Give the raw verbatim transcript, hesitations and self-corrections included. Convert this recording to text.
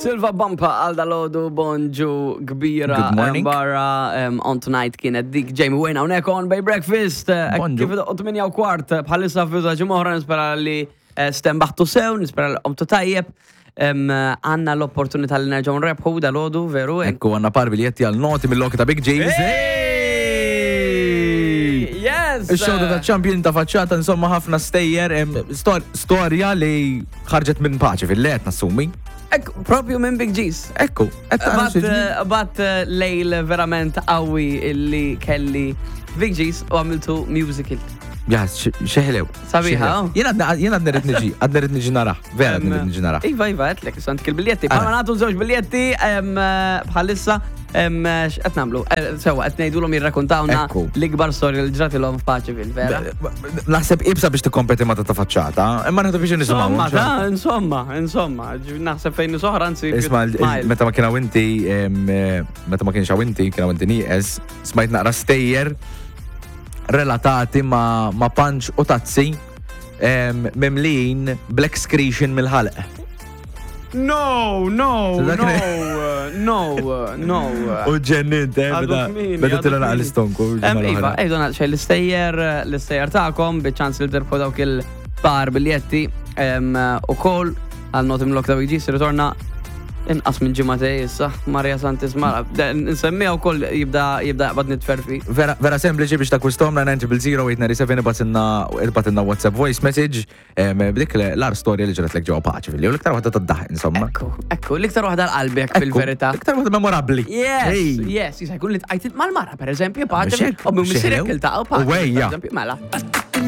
Silva Bumpa għal dalgħodu, bonġu kbira. Good morning. Barra um, on tonight kienet dik Jamie Wayne hawnhekk on Bay Breakfast. Eh, Bonġu. Kif tmienja u kwart eh, bħalissa f'juża ġimgħa, nispera li eh, stembaħtu sew, nispera li qomtu tajjeb. Em, Għandna l-opportunità li nerġgħu nrebħu dalgħodu, veru? Ekku, għandna par biljetti għal noti mill-loki ta' Big James. Hey! Yes! Il-show ta' champion ta' faċċata, insomma, ħafna stejjer, em, stor- storja li ħarġet minn paċi fil-let, nassumi. Ekku, propju minn Big G's. Ekku, qed tara Bat, xi ġni- eh, bat eh, lejl verament qawwi illi kelli Big G's u għamiltu musical. Ja, xeħlew. Sabiħa, oh. Jien għadna għadna rrid niġi, għadna rrid niġi narah, vera għadna rrid niġi narah. Iva, iva, għedtlek, santik il-biljetti. Bħalma nagħtu żewġ biljetti em, eh, bħalissa, em, eh, x'qed nagħmlu? Eh, Sewa, qed ngħidulhom jirrakkontawna Ekku. l-ikbar storja li ġratilhom f'Paċeville, vera? Naħseb ibsa biex tikkompeti ma ta' ta' faċċata, imma nieħdu biex nisimgħu. Insomma, ta' insomma, insomma, ġi- naħseb fejn soħra, anzi. Isma, il- il- meta ma kien hawn inti, em, eh, meta ma kienx hawn inti, kien hawn inti nieqes, smajt naqra stejjer relatati ma, ma punch u tazzi em, mimlin black excretion mill-ħalq. No, no, So dak no, no, no. U ġennint, eh, Għadu beda kmieni, beda għadu tila naqra kmieni. l-istonku. Em, Iva, ejdu xej l-istejjer, l-istejjer tagħkom, biċ-ċans li terbħu dawk il-par biljetti em, u kol għal Notim Lock ta' Big G's ritorna inqas minn ġimagħtejn issa, Maria Santis Mara. Nsemmiha wkoll jibda jibda jaqbad nitferfi. Vera, vera sempliċi biex takkwistom nine zero zero eight nine seven, ibgħatilna WhatsApp voice message em, b'dik l-agħar storja li ġrat lek ġewwa paċi fil u l-iktar waħda tad-daħ, insomma. Ekku, ekku, l-iktar waħda l-qalbek Ekku, fil-verità. L-iktar waħda memorabbli. Yes, Hey. yes, jista' jkun li tqajt mal-mara, per eżempju, paċi, Mhux hekk, u minn missierek xeħlew. iltaqgħu paċi, U wejja. per eżempju, mela.